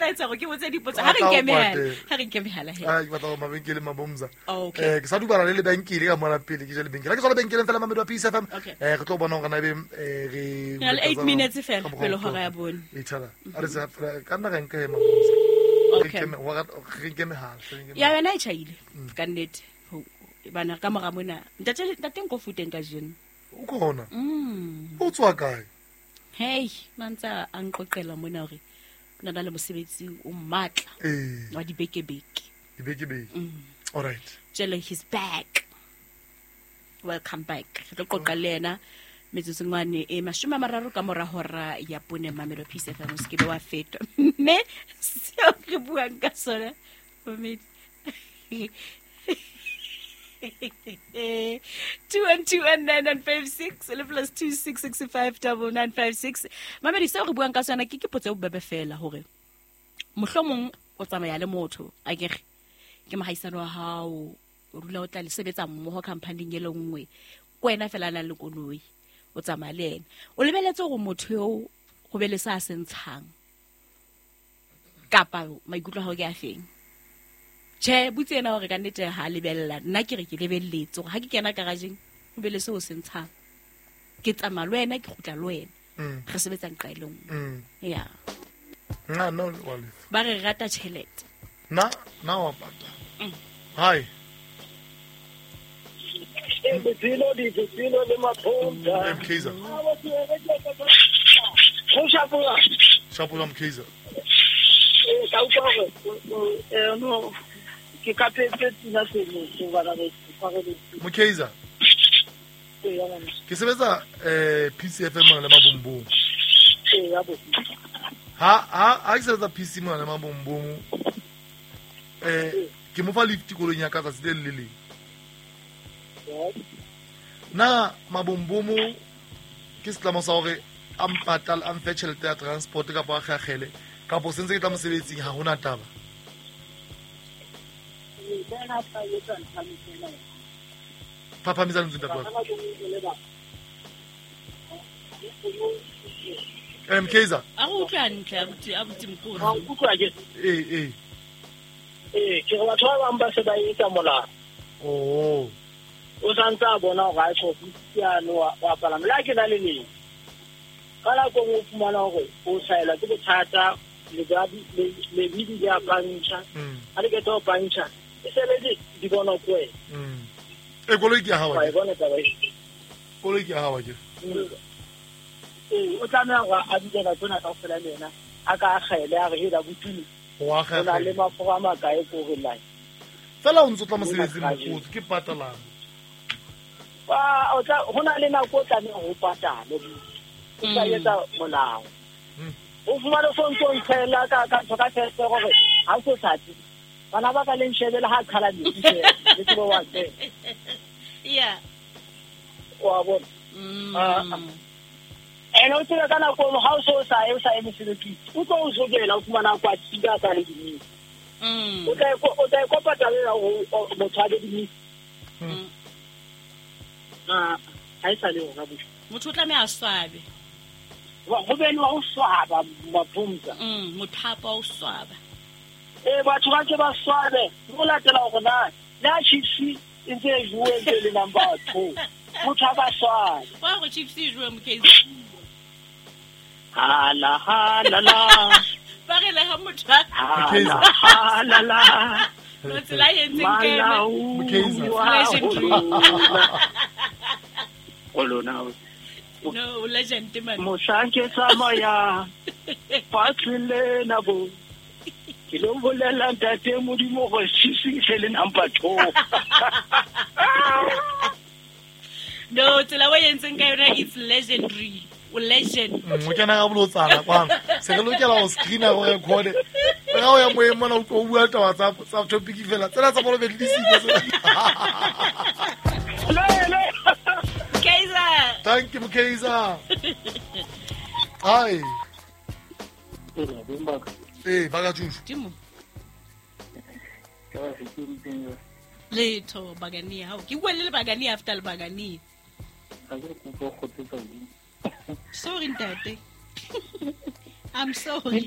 tla etsa gore ke botse dipotso. Ha re nke mehala, ha re nke mehala he. Ah, ke batla go mabenkele mabomza. Okay. Ke sa dubala le lebenkele ka mona pele ke je lebenkele. Ha ke tswa lebenkeleng fela Mamedi wa Peace FM. Okay. Re tlo bona hore na ebe re Re na le 8 minutes fela Ka mokgwa pele o hora ya bone. E thala. A re sa fela ka nna ra nka he mabomza. Re Okay. re nke mehala, re nke Ya mehala. yona e tjhaile ka nnete. Bana ka mora mona. Ntate nko futeng ka jeno. O kona. O tswa kae? Hey, na ntse a nqoqela mona hore o na le mosebetsi o matla wa dibekebeke. Dibekebeke. All right. Jalo he's back. Welcome back. Re tlo qoqa le yena metsotsongwane e 30 ka mora hora ya bone Mamelo Peace FM, o se ke be wa fetwa. Mme seo re buang ka sona, mamedi. 2121956 le plus 26659956. Mamedi, seo re buang ka sona ke potso e bobebe fela hore mohlomong o tsamaya le motho, akere ke mohaisane wa hao, o dula o tla le sebetsa mmoho company-ing e le nngwe, ke wena fela a nang le koloi, o tsamaya le yena, o lebeletse hore motho eo ho be le sa se ntshang, kapa maikutlo a hao ke a feng? Tjhe, butse yena hore ka nnete ha a lebella. Nna ke re ke lebelletse hore ha ke kena garageng ho be le seo se ntshang, ke tsamaya le wena, ke kgutla le wena, re sebetsa nqa e le nngwe. Ya. Nna, nna wa lefa. Ba re rata tjhelete. Nna, nna wa patala. Hi. Botshelo, dibotshelo le maphotsa. Mkhize. Go shapola. Shapola Mkhize. Ka utlwa hore, no, ke ka phetse tsena seno, so bana ba tshwareletse. Mkhize. Ee, ya ngwana. Ke sebetsa PCFM mona le Mabombong. Ee, ya bo. Ha ke sebetsa PC mona le Mabombong, ke mo fa lift koloing ya ka tsatsi le le leng. Na Mabombomo ke setlamo sa hore a mpatale, a mfe tjhelete ya transport kapa a kgakgele, kapa sentse ke tla mosebetsing, ha hona taba. Phaphamisa lentswe ntate wa ka. Mkhize. A go utlwe hantle, abuti Mokgotsi. Ha o utlwa ke? Ee, ee. Ee, ke re batho ba bang ba se ba etsa molao. Oh. O sa ntse a bona hore ha e tjho, ke yane wa palama. Le ha ke na le leng. Ka nako e nngwe o fumana hore o hlahelwa ke bothata, lebidi le a pantšha. Ha le qeta ho pantšha, e se le di bonwa ke wena. Koloi ke ya hao, Wa e akere? bona taba e? Koloi ke ya hao, akere? Ee, o tlameha hore a dule nako ena kaofela le yena, a ka akgele, a re, hela, botumi, Wa o na le akgela. mafura a makae ko re line? Fela o ntso tla mosebetsing, Mona kajeno. Mokgotsi, ke patalang. Ba, o tla, ho na le nako o tlameha ho patale, o tla etsa molao. O fumane so ntso ntshela ka ntho ka tjhelete hore ha o so hlatse. Bana ba ka le nshebe le ha qhala metsi fela, le tsebe wa tseba. Yeah. Wa bona? Ene o tsebe ka nako eno, ha o so sa ye, o sa ye mosebetsing, o tlo o sokela, o fumana kwa tshika ka le dimisi. O tla e o tla e kopa taba ena hore motho a be dimisi. Ah, ha e sa le yona bohle. Motho o tlameha a swabe. Wa, ho be le wa ho swaba, Maphumza. Mothapo wa ho swaba. Ee, batho ba ke ba swabe, ho latela hore na, le ha Chiefs e ntse e jowe, e ntse e le number 2. Motho a ba swabe. Wa hore Chiefs e jowe, Mkhize. Hala, hala, la. Ba re le ha motho a Hala, hala, la. No, tsela e entseng ke ena. Malau, Mkhize. wa Legendary. ho lona. Ho lona. No, legend man. Mohlang ke tsamaya fatshe lena bo, ke lo bolela ntate Modimo hore Chiefs e se le number 2. No, tsela o entseng ka yona it's legendary. O legend. O kena ka bolotsana kwano. Se re lokela ho screena go record. Re ga o ya moyeng mona o tlo bua taba tsa topic fela. Tsena tsa bolo be di siko tsena. Le, le. Kaizer. Thank you, Mkhize. Hi. Ee, ba ka tjushu. Timo. Letho bagania hao. Ke bua le bagania after le bagania. Sorry ntate. I'm sorry.